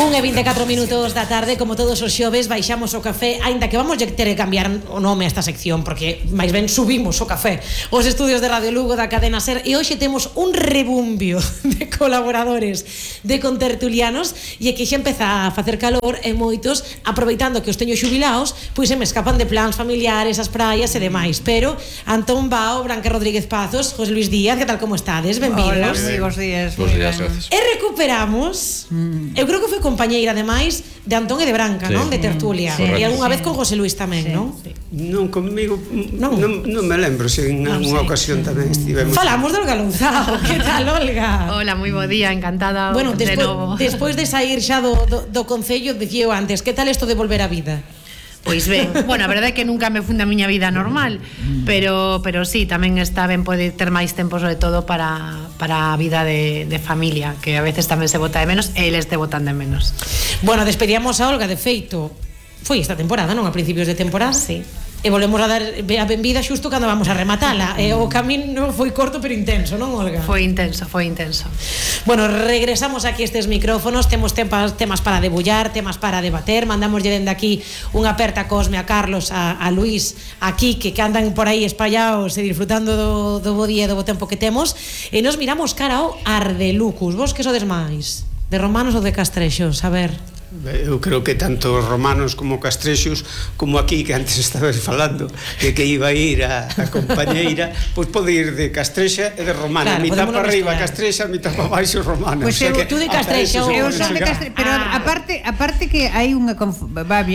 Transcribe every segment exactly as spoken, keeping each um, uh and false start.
un e vinte e catro minutos da tarde, como todos os xoves, baixamos o café, aínda que vamos ter que cambiar o nome a esta sección, porque máis ben subimos o café os estudios de Radio Lugo da cadena SER, e hoxe temos un rebumbio de colaboradores, de contertulianos, e que xa empeza a facer calor, e moitos, aproveitando que os teño xubilaos, pois se me escapan de plans familiares, as praias e demais. Pero Antón Bao, Branca Rodríguez Pazos, José Luis Díaz, que tal, como estades? Benvidos. Hola, moi bons días. Bons días, gracias. E recuperamos, mm. eu creo que foi compañeira, ademais, de Antón e de Branca, sí. Non? De tertulia. Sí. E algunha vez con José Luis tamén, sí. Non? Sí. Non, comigo, non, non, non me lembro, se en non, unha sí. ocasión tamén estivemos. Falamos do Olga Louzao. Que tal, Olga? Hola, moi bo día, encantada bueno, de despois, novo. Despois de sair xa do, do, do Concello, dicía eu antes, que tal isto de volver á vida? Pois ben, bueno, a verdade é que nunca me fun da miña vida normal, pero pero sí, tamén está ben poder ter máis tempo, sobre todo para para a vida de, de familia, que a veces tamén se bota de menos e eles te botan de menos. Bueno, despedíamos a Olga, de feito, foi esta temporada, non? A principios de temporada. Sí. E volvemos a dar a benvida xusto cando vamos a rematala. E o camino foi corto pero intenso, non, Olga? Foi intenso, foi intenso. Bueno, regresamos aquí a estes micrófonos, temos temas, temas para debullar, temas para debater, mandamoslle dende aquí unha aperta Cosme, a Carlos, a, a Luís, a Quique, que andan por aí espallados e disfrutando do, do bo día e do bo tempo que temos, e nos miramos cara ao Ardelucus. Vos que sodes máis? De romanos ou de castrexos? A ver... Eu creo que tanto romanos como castrexos, como aquí que antes estabas falando, que que iba a ir a, a compañeira, pois pode ir de castrexa e de romana, claro, mitad para arriba castrexa, mitad para baixo romana. Pois pues eu, tú de castrexa, eu son de castrexa, pero ah. aparte, aparte que hai unha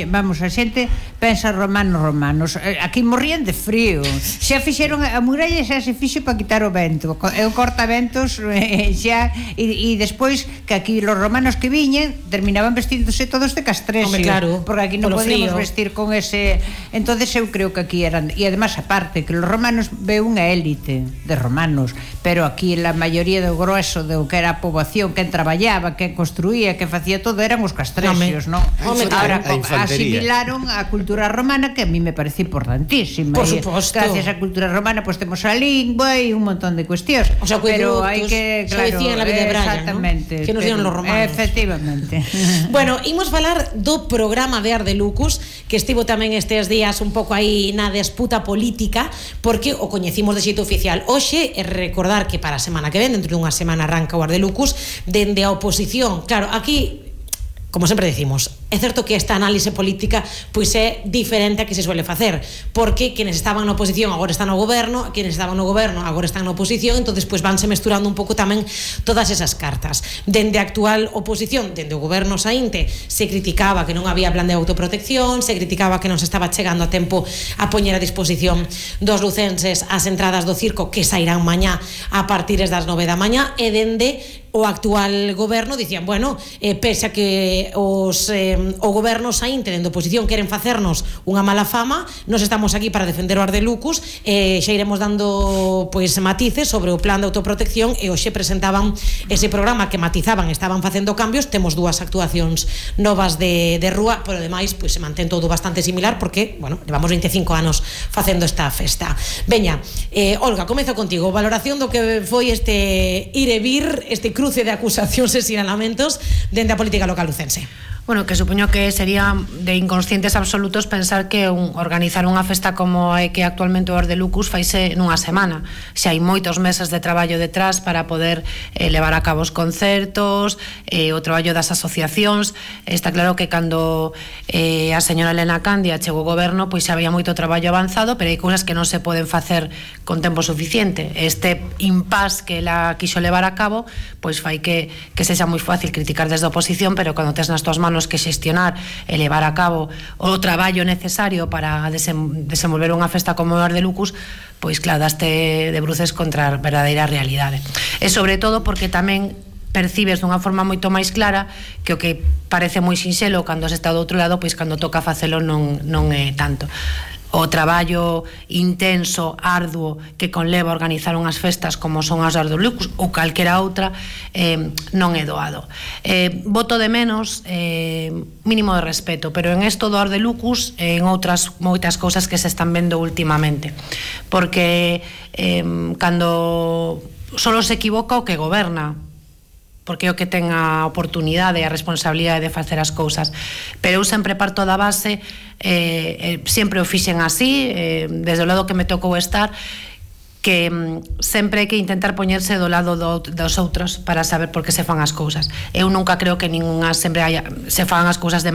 vamos, a xente pensa romanos romanos, aquí morrían de frío. Xa fixeron a muralla, xa se fixo para quitar o vento. É o cortaventos xa e, e despois que aquí los romanos que viñen terminaban vestindo todos de castrexo, claro, porque aquí non podíamos frío. vestir con ese. Entonces eu creo que aquí eran, e además aparte que los romanos ve unha élite de romanos, pero aquí la maioría do grosso do que era a poboación, quen traballaba, quen construía, que facía todo eran os castrexos, non? Ahora asimilaron a cultura romana, que a mí me parece importantísima. Por suposto. Gracias á cultura romana pues temos a lingua e un montón de cuestións. O sea, pero hai que, claro, decían la vida de Brian, exactamente, ¿no? Que nos dieron los romanos. Efectivamente. Bueno, imos falar do programa de Ardelucus, que estivo tamén estes días un pouco aí na disputa política, porque o coñecimos de xeito oficial. Hoxe, é recordar que para a semana que ven, dentro dunha semana arranca o Ardelucus, dende a oposición. Claro, aquí, como sempre decimos, é certo que esta análise política pois é diferente a que se suele facer, porque quenes estaban na oposición agora están no goberno, quenes estaban no goberno agora están na oposición, entonces pois vanse mesturando un pouco tamén todas esas cartas. Dende a actual oposición, dende o goberno saínte, se criticaba que non había plan de autoprotección, se criticaba que non se estaba chegando a tempo a poñer a disposición dos lucenses as entradas do circo, que sairán mañá a partir das nove da mañá, e dende o actual goberno dicían, bueno, eh, pese a que os eh, o goberno saínte dende oposición queren facernos unha mala fama, nos estamos aquí para defender o Ardelucus, e eh, xa iremos dando pois matices sobre o plan de autoprotección, e hoxe presentaban ese programa que matizaban, estaban facendo cambios. Temos dúas actuacións novas de, de rúa, pero ademais pois se mantén todo bastante similar, porque, bueno, levamos vinte e cinco anos facendo esta festa. Veña, eh, Olga, comezo contigo. Valoración do que foi este ir e vir, este cruce de acusacións e sinalamentos dende a política local lucense. Bueno, que supoño que sería de inconscientes absolutos pensar que un, organizar unha festa como é que actualmente o Ardelucus faise nunha semana. Xa hai moitos meses de traballo detrás para poder eh, levar a cabo os concertos, eh, o traballo das asociacións. Está claro que cando eh, a señora Elena Candia chegou ao goberno, pois xa había moito traballo avanzado, pero hai cousas que non se poden facer con tempo suficiente. Este impás que ela quixo levar a cabo, pois fai que, que sexa moi fácil criticar desde a oposición, pero cando tes nas tuas manos que xestionar e levar a cabo o traballo necesario para desem, desenvolver unha festa como o Ardelucus, pois claro, daste de bruces contra a verdadeira realidade. E sobre todo porque tamén percibes dunha forma moito máis clara que o que parece moi sinxelo cando se está do outro lado, pois cando toca facelo non, non é tanto. O traballo intenso, arduo que conleva organizar unhas festas como son as Ardelucus ou calquera outra eh, non é doado. Eh, voto de menos eh, mínimo de respeto, pero en esto do Ardelucus eh, en outras moitas cousas que se están vendo últimamente, porque eh, cando solo se equivoca o que goberna, porque é o que ten a oportunidade e a responsabilidade de facer as cousas. Pero eu sempre parto da base, eh, eh, sempre o fixen así, eh, desde o lado que me tocou estar, que mm, sempre hai que intentar poñerse do lado do, dos outros para saber por que se fan as cousas. Eu nunca creo que ningunha sempre haya, se fan as cousas de